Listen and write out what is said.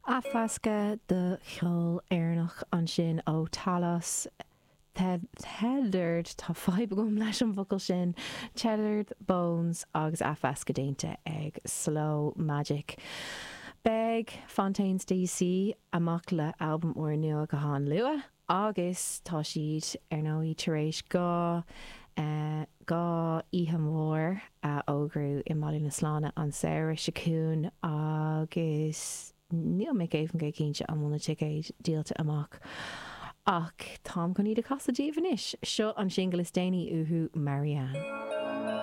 Athmheascadh de cheol Éireannach ansin ó Talos, Tethered, tá fadhb agam leis an bhfocal sin, Tethered Bones agus athmheascadh déanta ag Slow Magic. Beidh Fontaines DC amach le albam úrnua go han-luath agus tá siad, ar ndóigh, tar éis 2 oíche mhór a fhógrú i mBaile na Sláine an samhradh seo chugainn agus níl mé 100% cinnte an bhfuil na ticéid díolta amach ach táim chun iad a chasadh daoibh anois. Seo an singil is déanaí uathu, Marianne.